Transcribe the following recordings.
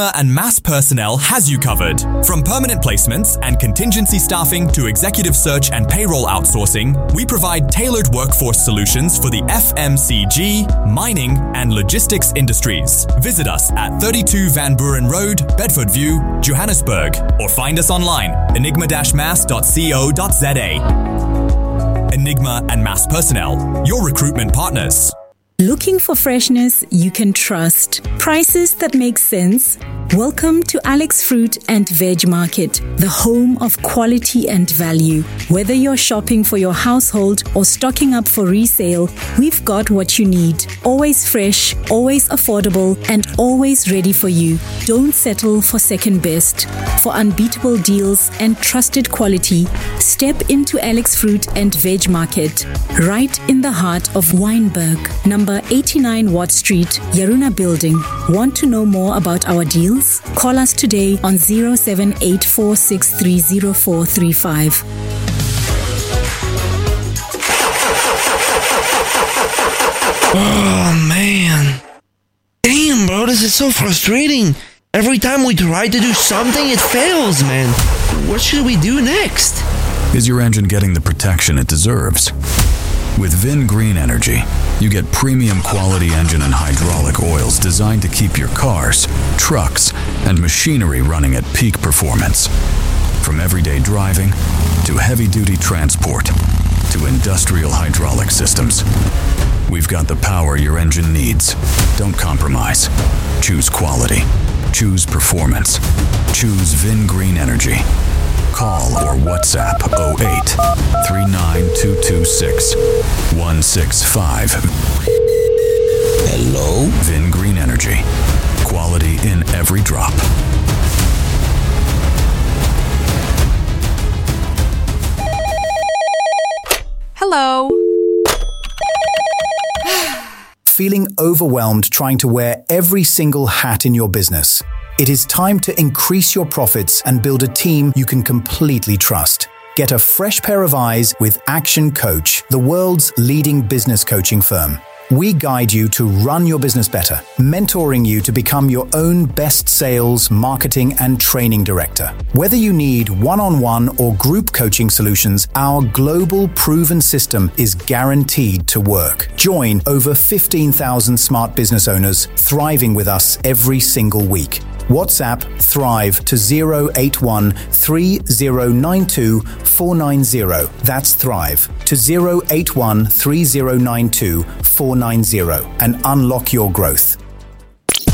And Mass Personnel has you covered. From permanent placements and contingency staffing to executive search and payroll outsourcing, we provide tailored workforce solutions for the FMCG, mining, and logistics industries. Visit us at 32 Van Buren Road, Bedford View, Johannesburg, or find us online enigma-mass.co.za. Enigma and Mass Personnel, your recruitment partners. Looking for freshness you can trust, prices that make sense? Welcome to Alex Fruit and Veg Market, the home of quality and value. Whether you're shopping for your household or stocking up for resale, we've got what you need. Always fresh, always affordable, and always ready for you. Don't settle for second best. For unbeatable deals and trusted quality, step into Alex Fruit and Veg Market, right in the heart of Wynberg, number 89 Watt Street, Yaruna Building. Want to know more about our deals? Call us today on 0784630435. Oh man. Damn, bro, this is so frustrating. Every time we try to do something, it fails, man. What should we do next? Is your engine getting the protection it deserves? With VinGreen Energy, you get premium quality engine and hydraulic oils designed to keep your cars, trucks, and machinery running at peak performance. From everyday driving to heavy duty transport to industrial hydraulic systems. We've got the power your engine needs. Don't compromise. Choose quality. Choose performance. Choose VinGreen Energy. Call or WhatsApp 08 39226 165. Hello? VinGreen Energy. Quality in every drop. Hello. Feeling overwhelmed trying to wear every single hat in your business? It is time to increase your profits and build a team you can completely trust. Get a fresh pair of eyes with Action Coach, the world's leading business coaching firm. We guide you to run your business better, mentoring you to become your own best sales, marketing, and training director. Whether you need one on one or group coaching solutions, our global proven system is guaranteed to work. Join over 15,000 smart business owners thriving with us every single week. WhatsApp Thrive to 081 3092 490. That's Thrive to 081 3092 490 and unlock your growth.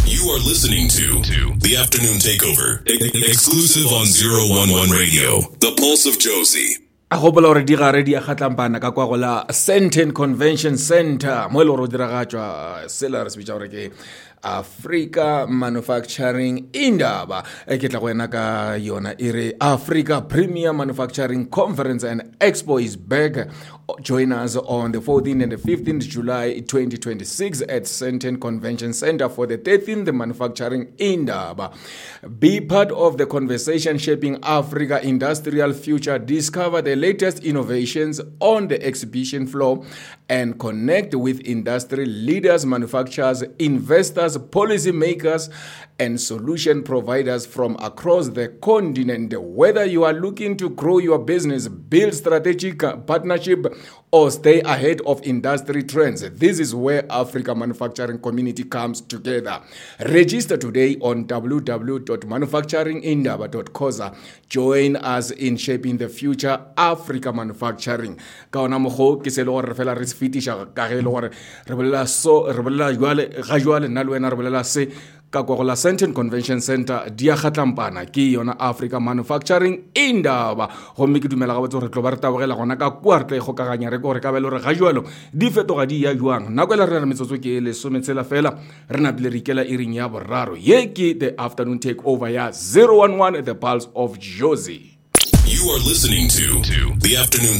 You are listening to The Afternoon Takeover, exclusive on 011 Radio, The Pulse of Josie. A gopola gore di gare di a kgatlampana ka kwa go la Sandton Convention Center mo e le gore o diragatšwa sela re se bitša gore ke Africa Manufacturing Indaba. E ke tla go wena ka yona e re Africa Premier Manufacturing Conference and Expo is back. Join us on the 14th and the 15th July 2026 at Sandton Convention Center for the 13th Manufacturing Indaba. Be part of the conversation shaping Africa industrial future. Discover the latest innovations on the exhibition floor and connect with industry leaders, manufacturers, investors, policymakers, and solution providers from across the continent. Whether you are looking to grow your business, build strategic partnership, or stay ahead of industry trends, this is where Africa manufacturing community comes together. Register today on www.manufacturingindaba.coza. Join us in shaping the future Africa manufacturing. Ka ona mokgo ke se le gore re fela re se fetiša ka ge e le gore re bolela so re bolela jwale ga jwale nna le wena re bolela se ka kwa go la Sandton Convention Center di a kgatlampana ke yona Africa Manufacturing Indaba. Gomme ke dumela gabotse gore tlo ba re tabogela gona ka kua re tla ikgokaganya re ke gore ka ba e le gore ga jwalo di fetoga di ya jwang. Nako e le re re metsotso ke e lesometshela fela re napile re ikela iring ya boraro. Ye ke The Afternoon Takeover ya 011 The Pulse of Jozi. You are listening to The Afternoon